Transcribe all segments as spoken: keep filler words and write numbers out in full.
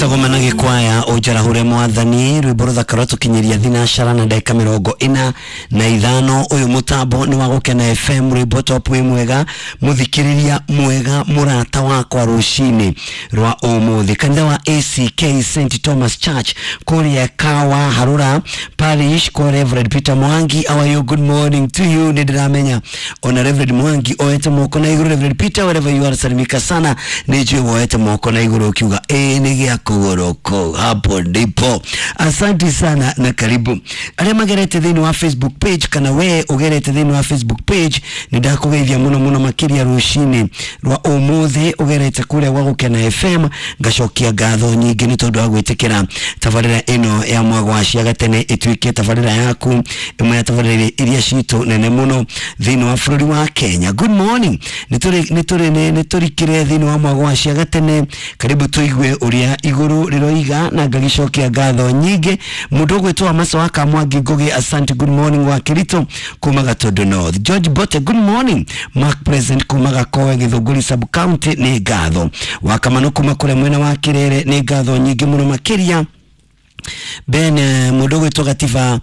Betagwo Manage Kwaya unjarahure mwathani rwimbo ruthaka rwatukinyiria thinacara na ndagika mirongo ina na ithano. Uyu mutambo ni wa Gukena F M, rwimbo top wi mwega muthikiriria mwega murata wakwa rucini rwa umuthi. Kanitha wa A C K Saint Thomas Church kuria Kawa Harura Parish kwa Reverend Peter Mwangi. How are you? Good morning to you. Nindiramenya ona Reverend Mwangi oete moko na iguru. Reverend Peter, wherever you are, salimika sana. Nijui woete moko na iguru ukiuga eh ni gia kugoroko hapo ndipo. Asante sana na karibu aria magerete thiini wa Facebook page, kana we ugerete thiini wa Facebook page, ni ndakugeithia muno muno makiria rucini rwa umuthi ugerete kuria gwa Gukena F M. Ngacokia ngatho nyingi ni tondu wa gwitikira tabarira ino ya mwagwa cia gatene ituike tabarira yaku imwe ya tabarira iria citu nene muno thiini wa bururi wa Kenya. Good morning. Nituri nituri niturikire thiini wa mwagwa cia gatene, karibu tuigue uria iguru riroiga na ngagicokia ngatho nyingi. Mundu ugwitwo Maso wa Kamwangi Ngugi, asante. Good morning wa Kirito kuma Gatondo North. George Bote, good morning. Mark Present kuma Gakoe Githunguri sub county, ni ngatho. Wa Kamano kuma kuria mwena wa Kirere, ni ngatho nyingi muno makiria. Ben mundu ugwitwo Gativa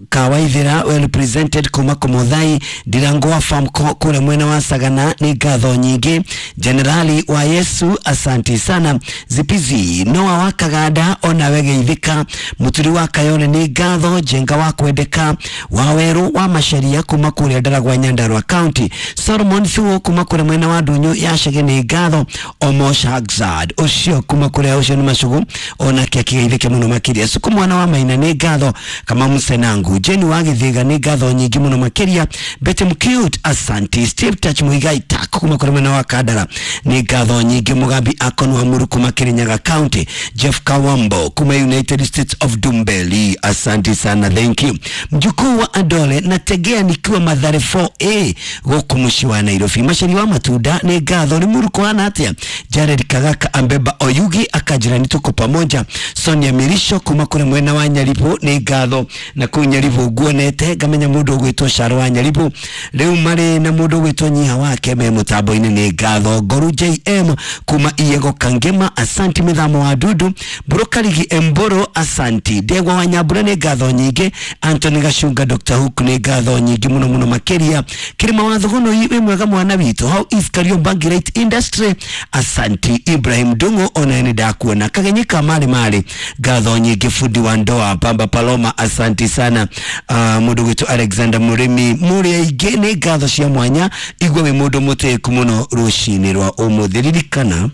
Kawaithira, well represented kuma Komothai. Ndirango wa farm kule mwena wa Sagana, ni ngatho nyingi. Generali wa Yesu, asante sana. Zipizi Noa wa Kaganda, ona wegeithika. Muturi wa Kayole, ni ngatho. Jenga wa Kwendeka wa Weru wa Macharia kuma kuria Ndaragwa Nyandarua County. Solomon Thuo kuma kuria mwena wa Ndunyu ya Chege, ni ngatho. Omosh Hagzad ucio kuma kuria ucio ni macugu, onake akigeithike muno makiria. Suku mwana wa Maina, ni ngatho. Kama Musenangu Jeni wa Githiga, ni ngatho nyingi muno makiria. Betty Mcute, asante. Steve Touch Muigai Tako kuma kuria mwena wa Kandara, ni ngatho nyingi. Mugambi Akon wa Muru kuma Kirinyaga County. Jeff Kawambo kuma United States of Dumbeli, asante sana, thank you. Mjukuu wa Adole nategea nikiwa Mathare four A guku muciĩ wa Nairobi. Macari wa Matunda, ni ngatho. Ni Muru kwana atia. Jared Kagaka Ambeba Oyugi akajira ni tuko pamoja. Sonia Mirisho kuma kure mwena wa Nyaribo, ni ngatho. Na kuu Nyaribo nguonete ngamenya mundu ugwitwo Sharo wa Nyaribo riu mari na mundu ugwitwo Nyiha wake me mutambo-ini, ni ngatho. Ngoru J M kuma Iyego Kangema, asanti. Mithamo wa Dudu Burukarigi Emboro, asanti. Ndegwa wa Nyambura, ni ngatho nyingi. Anthony Gacunga Doctor Hook, ni ngatho nyingi muno muno makiria. Kirima wa Thugono, wi mwega mwana witu. How is Kariobangi Right Industry, asanti. Ibrahim Dungo, ona ni ndakuona. Kagenyika mali mali, ngatho nyingi. Fundi wa ndoa Pamba Paloma, asanti sana. Uh, mundu witu Alexander Murimi muri aingĩ, ni ngatho cia mwanya. Igwe wi mundu mutiku muno rucini rwa umuthi. Ririkana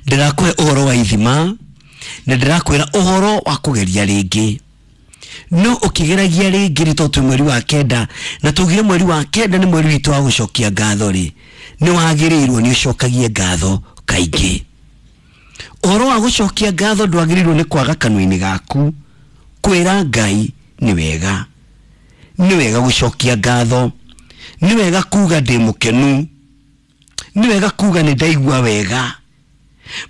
ndirakuhe uhoro wa ithima na ndirakwira uhoro wa kugeria ringi, no ukigeragia ringi ri to mweri wa kenda, na tugire mweri wa kenda ni mweri witu wa gucokia ngatho ri, ni wagirirwo ni ucokagie ngatho kaingĩ. Uhoro wa gucokia ngatho ndwagĩrĩirwo nĩ kwaga kanua-inĩ gaku. Kwĩra Ngai ni wega, ni wega gucokia ngatho, ni wega kuga ndĩ mũkenu, ni wega kuga nĩ ndaigua wega.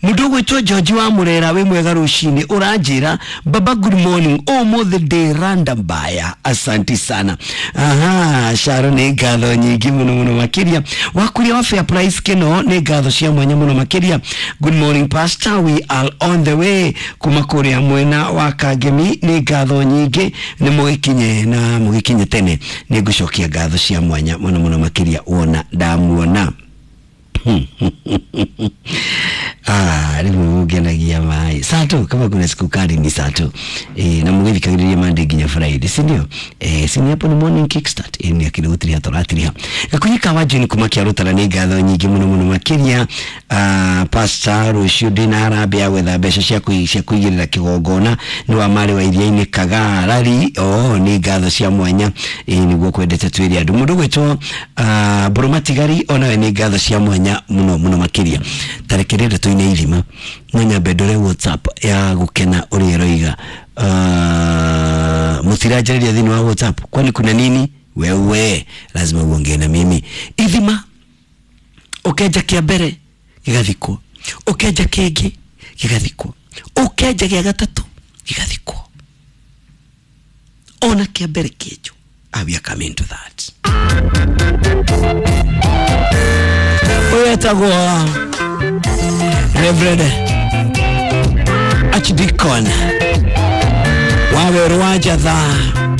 Mundu ugwitwo George wa Murera, wi mwega rucini, uranjira baba good morning, umuthi ndi random baya, asanti sana. Aha, Sharo, ni ngatho nyingi muno muno makiria. Wakuria wa Fair Price Keno, ni ngatho cia mwanya muno makiria. Good morning pastor, we are on the way kuma kuria mwena wa Kangemi, ni ngatho nyingi. Ni mugikinye na mugikinye tene, ni ngucokia ngatho cia mwanya muno muno makiria wona ndamuona. Ah, riu ngenagia mai sato kama kuna siku kali ni sato eh, na mugithikagiriria Monday nginya Friday, si ndio? Eh, si ni hapo ni morning kickstart eh, ni akili gutiriha toratiriha gakunyika wa June kuma kia rutara, ni ngatho nyingi muno muno makiria. Ah, pastor rucio ndina harambee gwetha mbeca cia cia kuigirira kigongona ni wa mari wa iria-ini Kagarari. Oh, ni ngatho cia mwanya eh, niguo kwendete twire andu. Mundu gwitwo ah Burumatigari, onawe ni ngatho cia mwanya muno muno makiria. Tarekerere tuine ithima no nyambe ndore WhatsApp ya Gukena uria iroiga. Uh, mutiranjariria thiini wa WhatsApp, kwani kuna nini? Wewe lazima uongee na mimi. Ithima ukenja kia mbere gigathikwo, ukenja kingi gigathikwo, ukenja gia gatatu gigathikwo, ona kia mbere kienjwo. Ah, we are coming to that. Uyu etagwo Reverend Archdeacon Waweru wa Njatha.